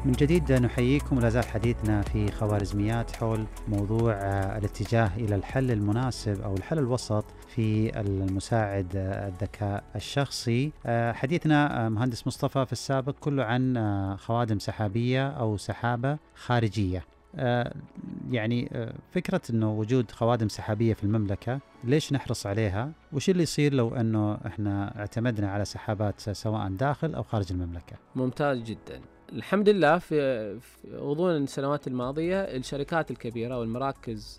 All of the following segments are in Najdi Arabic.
من جديد نحييكم، ولا زال حديثنا في خوارزميات حول موضوع الاتجاه إلى الحل المناسب أو الحل الوسط في المساعد الذكاء الشخصي. حديثنا مهندس مصطفى في السابق كله عن خوادم سحابية أو سحابة خارجية. فكرة أنه وجود خوادم سحابية في المملكة، ليش نحرص عليها؟ وش اللي يصير لو أنه إحنا اعتمدنا على سحابات سواء داخل أو خارج المملكة؟ ممتاز جدا. الحمد لله في غضون السنوات الماضية الشركات الكبيرة والمراكز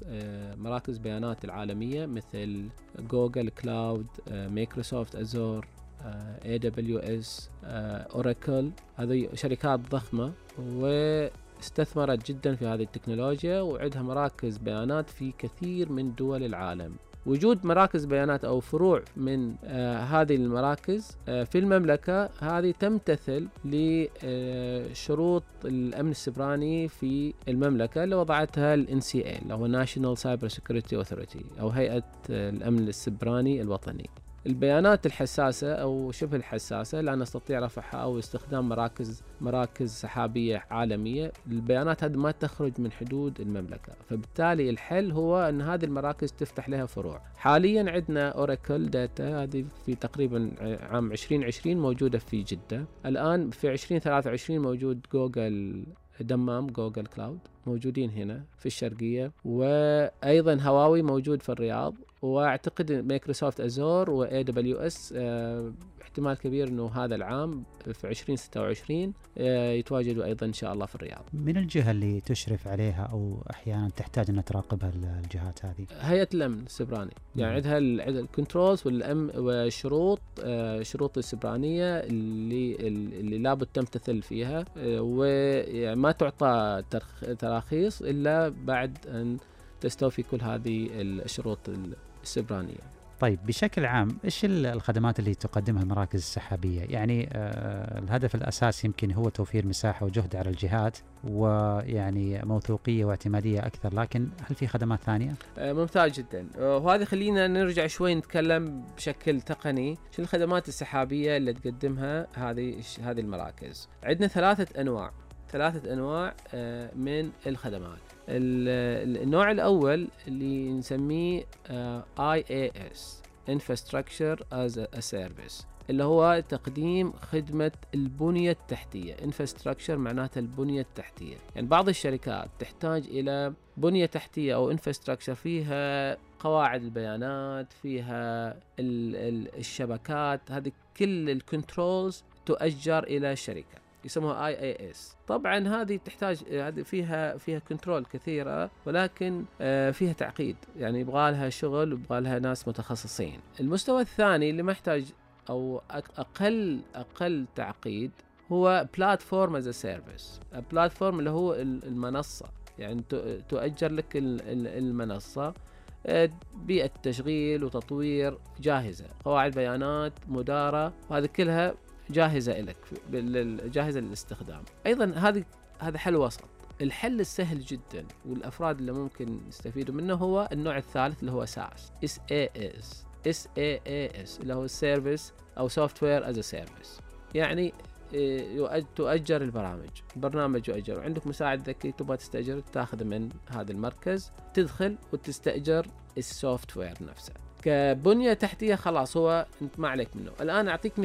مراكز بيانات العالمية مثل جوجل كلاود، مايكروسوفت أزور، AWS، أوراكل، هذه شركات ضخمة واستثمرت جدا في هذه التكنولوجيا وعندها مراكز بيانات في كثير من دول العالم. وجود مراكز بيانات أو فروع من هذه المراكز في المملكة هذه تمتثل لشروط الأمن السيبراني في المملكة اللي وضعتها ال NCA اللي هو National Cyber Security Authority أو هيئة الأمن السيبراني الوطني. البيانات الحساسة أو شبه الحساسة لا نستطيع رفعها أو استخدام مراكز سحابية عالمية. البيانات هذه ما تخرج من حدود المملكة، فبالتالي الحل هو أن هذه المراكز تفتح لها فروع. حاليا عندنا أوراكل داتا هذه في تقريبا عام 2020 موجودة في جدة. الآن في 2023 موجود جوجل دمام، جوجل كلاود موجودين هنا في الشرقية، وأيضا هواوي موجود في الرياض، واعتقد مايكروسوفت أزور و AWS احتمال كبير انه هذا العام في 2026 يتواجدوا ايضا ان شاء الله في الرياض. من الجهة اللي تشرف عليها او احيانا تحتاج ان تراقبها الجهات هذه؟ هيئة الامن السيبراني، يعني عندها الكنترولز والامن والشروط، شروط السيبرانية اللي لابد تمتثل فيها، وما تعطى تراخيص الا بعد ان تستوفي كل هذه الشروط السيبرانية. طيب بشكل عام إيش الخدمات اللي تقدمها المراكز السحابية؟ يعني الهدف الأساسي يمكن هو توفير مساحة وجهد على الجهات ويعني موثوقية واعتمادية أكثر، لكن هل في خدمات ثانية؟ ممتاز جدا. وهذه خلينا نرجع شوي نتكلم بشكل تقني شو الخدمات السحابية اللي تقدمها هذه المراكز. عندنا ثلاثة أنواع من الخدمات. النوع الأول اللي نسميه IaaS Infrastructure as a Service، اللي هو تقديم خدمة البنية التحتية. Infrastructure معناتها البنية التحتية، يعني بعض الشركات تحتاج إلى بنية تحتية أو Infrastructure فيها قواعد البيانات، فيها الشبكات، هذه كل الكنترولز تؤجر إلى الشركة يسموها IaaS. طبعا هذه تحتاج، هذه فيها كنترول كثيرة، ولكن فيها تعقيد، يعني يبغى لها شغل ويبغى لها ناس متخصصين. المستوى الثاني اللي محتاج أو أقل تعقيد هو Platform as a Service. البلاتفورم اللي هو المنصة، يعني تؤجر لك المنصة، بيئة تشغيل وتطوير جاهزة، قواعد بيانات مدارة، وهذه كلها جاهزة لك، جاهزة للاستخدام. أيضا هذا حل وسط. الحل السهل جدا والأفراد اللي ممكن يستفيدوا منه هو النوع الثالث اللي هو SaaS اللي هو Service أو Software as a Service. يعني تؤجر البرنامج يؤجر، وعندك مساعد ذكي تبغى تستأجر، تاخذ من هذا المركز، تدخل وتستأجر السوفت وير نفسه كبنية تحتية. خلاص هو انت ما عليك منه. الآن أعطيك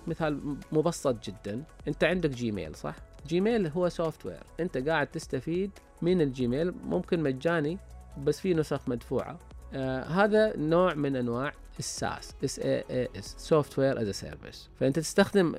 مثال مبسط جدا. انت عندك جيميل، صح؟ جيميل هو سوفت وير، انت قاعد تستفيد من الجيميل، ممكن مجاني بس في نسخ مدفوعة. هذا نوع من أنواع الساس، SaaS Software as a Service. فأنت تستخدم